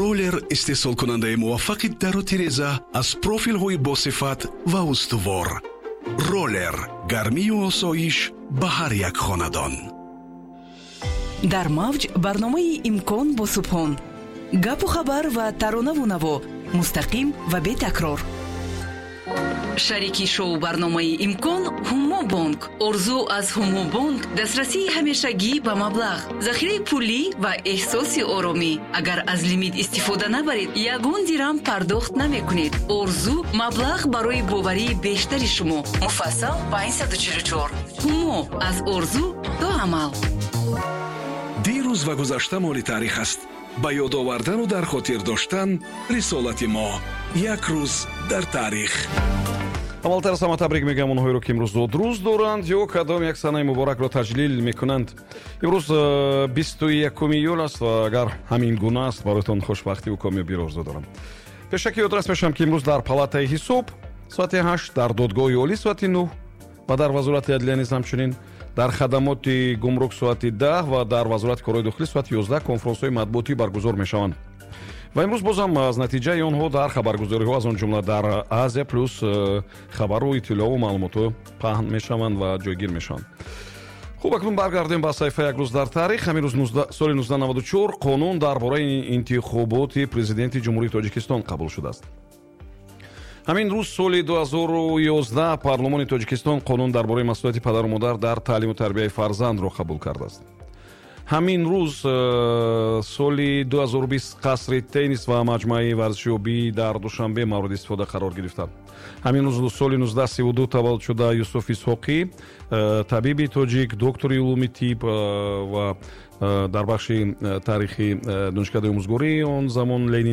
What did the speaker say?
Роллер, истеҳсолкунандаи муваффақи дару тиреза аз профилҳои босифат ва устувор. Роллер, гармию осоиш ба ҳар як хонадон. Дар мавҷ барномаи «Имкон» бо Субҳон: гапу хабар ва таронаву наво, мустақим ва бетакрор. Шарики шоу барномаи «Имкон» «Ҳумо Бонк». Орзу аз «Ҳумо Бонк» дастрасии ҳамешагӣ ба маблағ, захираи пулӣ ва эҳсоси оромӣ. Агар аз лимит истифода набаред, ягон дирам пардохт намекунед. Орзу: маблағ барои боварии бештари шумо. Муфассал 544. «Ҳумо» аз орзу то амал. Дирӯз ва гузашта моли таърих аст. Ба ёд овардану дар хотир доштан рисолати мо. Як рӯз дар таърих. Аввалтар аз ҳама табрик мегӯям онҳоеро, ки имрӯз зодрӯз доранд ё кадом як санаи муборакро таҷлил мекунанд. Имрӯз 21 июл аст ва агар ҳамин гуна аст, бароятон хушбахтиву комёбиро орзу дорам. Пешакӣ ёдрас мешавам, ки имрӯз дар палатаи ҳисоб соати 8, дар додгоҳи олӣ соати 9 ва дар Вазорати адлия низ ҳамчунин, дар хадамоти гумрук соати 10 ва дар Вазорати корҳои дохилӣ соати 11 конфронсҳои матбуотӣ баргузор мешаванд. Ва имрӯз бозам аз натиҷаи онҳо дар хабаргузориҳо, аз он ҷумла дар «Азия Плюс», хабару иттилоъу маълумотҳо паҳн мешаванд ва ҷойгир мешаванд. Хуб, акнун баргардем ба саҳифаи «Як рӯз дар таърих». Ҳамин рӯз, соли 1994, қонун дар бораи интихоботи президенти Ҷумҳурии Тоҷикистон қабул шудааст. Ҳамин рӯз, соли 2011, парлумони Тоҷикистон қонун дар бораи масъулияти падару модар дар таълиму тарбияи фарзандро қабул кардааст. Ҳамин рӯз, соли 2020, қасри теннис ва маҷмӯаи варзиши обӣ дар Душанбе мавриди истифода қарор гирифта. Ҳамин рӯз, соли 1932, таваллуд шуда Юсуф Исҳоқӣ, табиби тоҷик, доктори улуми тиб ва дар бахши таърихи Донишкадаи омӯзгории он замон Ленин.